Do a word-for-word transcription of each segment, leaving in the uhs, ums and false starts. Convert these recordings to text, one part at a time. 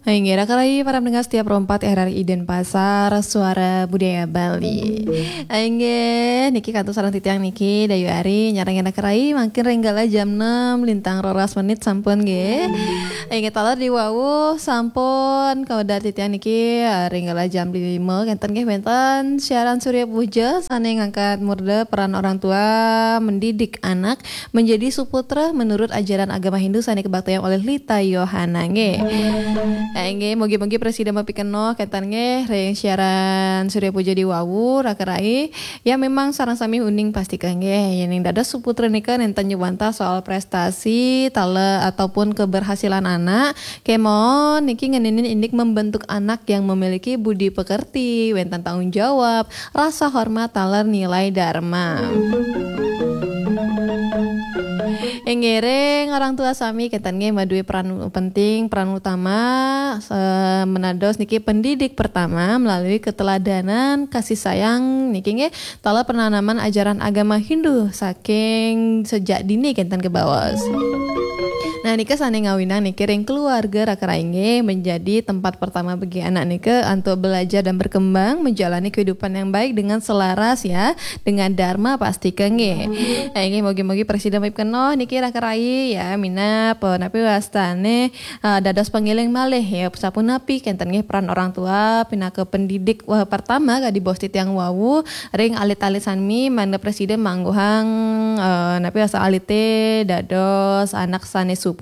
Inggih, raka rai para pendengar setia Pro empat R R I Denpasar, Suara Budaya Bali. Inggih, niki kantun sareng titiang niki, Dayu Ari, nyarengin raka rai, mangkin ring galah jam enam, lintang roras menit sampun nggih. Inggih, taler di wau sampun kawedar titiang niki, eh, ring galah jam lima, kenten nggih wenten siaran Surya Puja, sane ngangkat murda peran orang tua mendidik anak menjadi suputra menurut ajaran agama Hindu sane kabaktiang oleh Lita Yohana nggih. Eh, nggih, mugi-mugi prasida mapikenoh kenten nggih ring siaran Surya Puja di wau, raka rai. Ya, memang sareng sami uning pastika nggih, yening dados suputra nika nenten nyuwantah soal prestasi, taler ataupun keberhasilan anak. Kemawon niki ngeninin indik membentuk anak yang memiliki budi pekerti, wenten tanggung jawab, rasa hormat taler nilai dharma. Inggih, ring orang tua sami kenten nggih maduwe peran penting, peran utama, eh, menados niki pendidik pertama melalui keteladanan, kasih sayang niki nggih, taler penanaman ajaran agama Hindu saking sejak dini kenten kebaos. Nah, nika sane ngawinang niki ring keluarga raka rai nggih menjadi tempat pertama bagi anak nika untuk belajar dan berkembang menjalani kehidupan yang baik dengan selaras ya dengan dharma pastika nggih. Eh, nggih, mugi-mugi prasida mapikenoh niki raka rai ya, minab, eh, napi wastane, eh, dados pangiling malih ya, sapunapi kenten nggih peran orang tua pinaka pendidik, wah, pertama kadi bos titiang wau ring alit-alit sami mangda prasida mangguhang, eh, napi wasta alite dados anak sane suputra.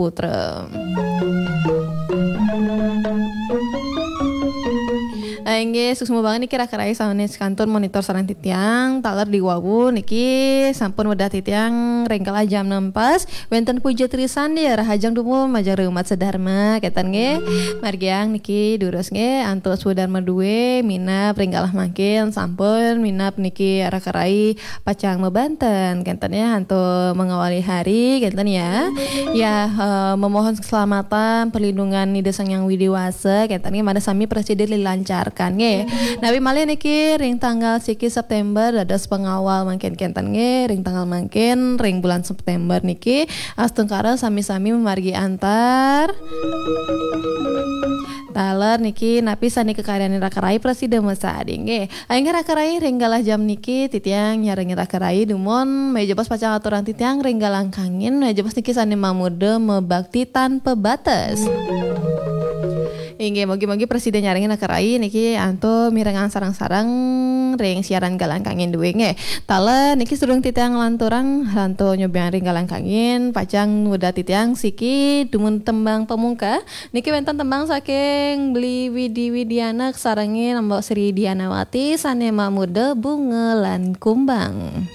Eh, inggih, suksma banget niki raka rai sane kantun monitor sareng titiang, taler di wau niki sampun wedah titiang ring galah jam enam pas, wenten puja trisandia, rahajeng dumun majeng ring umat sedharma, kenten nggih. Margiang niki durus nggih, antuk swadharma duwe, minab ring galah mangkin, sampun minab niki raka rai pacang mabanten, kenten ya, antuk mengawali hari, kenten ya. Ya, eh, memohon keselamatan, perlindungan Ida Sang Hyang Widi Wasa, kenten nggih, mangda sami prasida dilancarkan nggih. Napi malih niki ring tanggal siki September dados pengawal mangkin kenten nggih, ring tanggal mangkin ring bulan September niki astungkara sami-sami mamargi antar. Taler niki napi sane kakaryanin raka rai prasida masadi nggih. Inggih raka rai ring galah jam niki titiang nyarengin raka rai dumun, maya jebos pacang aturang titiang ring galah kangin, maya jebos niki sane mamurda mabakti tanpa batas. Inggih, mugi-mugi prasida nyarengin raka rai niki antuk mirengang sareng-sareng ring siaran galah kangin duwe nggih. Taler niki sadurung titiang nglanturang, antuk nyobiang ring galah kangin, pacang wedah titiang siki dumun tembang pamungka. Niki wenten tembang saking Beli Widi Widiana kasarengin Mbok Sri Dianawati sane mamurda Bunga lan Kumbang.